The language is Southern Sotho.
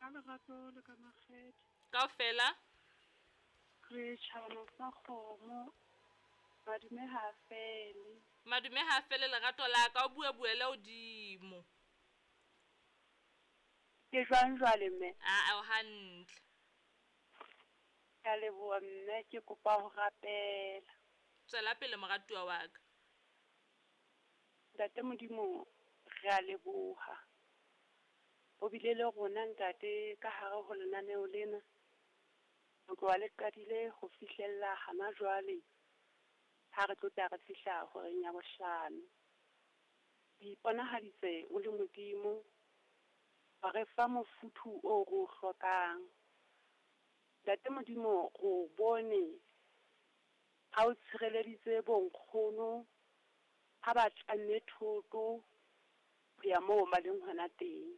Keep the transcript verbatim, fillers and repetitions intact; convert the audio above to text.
Ka lerato le ka makgethe. Kaofela? Re tjhabana sa kgomo, madume ha fele. Madume ha fele lerato la ka, o bua buele hodimo. Ke jwang jwale mme? Aa o hantle. Ke a leboha mme, ke kopa ho rapela. Tswela pele moratuwa wa ka. Ntate Modimo, re a leboha. O bile le rona ntate ka hare ho lenaneo lena. Ho tloha le qadile ho fihlella hana jwale, ha re tlotla re fihla horeng ya bohlano. O iponahaditse o le Modimo, wa re fa mofuthu o ro o hlokang. Ntate Modimo ro o bone, ha o tshireleditse bo nkgono, ha ba tlamme thoto, ho ya moo ba leng hona teng.